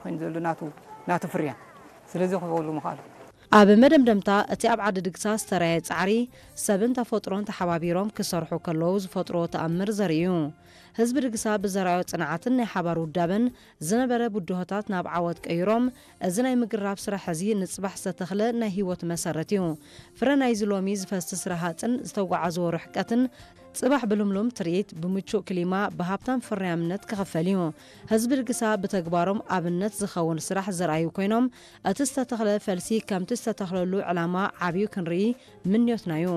ኮይኑ ዘሎ ናቱ ናቱ ፍርያ ስለዚ ክበሉ ምኽኣሉ። ኣብ መደምደምታ፣ እቲ ኣብ ዓዲ ድግሳ ዝተራየ ጻዕሪ፣ ሰብን ተፈጥሮን ተሓባቢሮም ክሰርሑ ከለዉ ዝፈጥሮ ተኣምር ዘርኢ እዩ። ህዝቢ ድግሳ ብዘራዮ ጽንዓትን ናይ ሓባር ውዳበን ዝነበረ ብድሆታት ናብ ዓወት ቀይሮም፣ እዚ ናይ ምግራብ ስራሕ እዚ ንጽባሕ ዝተተኽለ ናይ ህይወት መሰረት እዩ። ፍረ ናይዚ ሎሚ ዝፈስስ ረሃጽን ዝተጓዓዝዎ ርሕቀትን፣ ጽባሕ ብልምሉም ትርኢት፣ ብምቹእ ክሊማ፣ ብሃብታም ፍርያምነት ክኽፈል እዩ። ህዝቢ ድግሳ ብተግባሮም ኣብነት ዝኸውን ስራሕ ዘርኣዩ ኮይኖም፣ እቲ ዝተተኽለ ፈልሲ ከምቲ ዝተተኽለሉ ዕላማ ዓብዩ ክንርኢ ምንዮትና እዩ።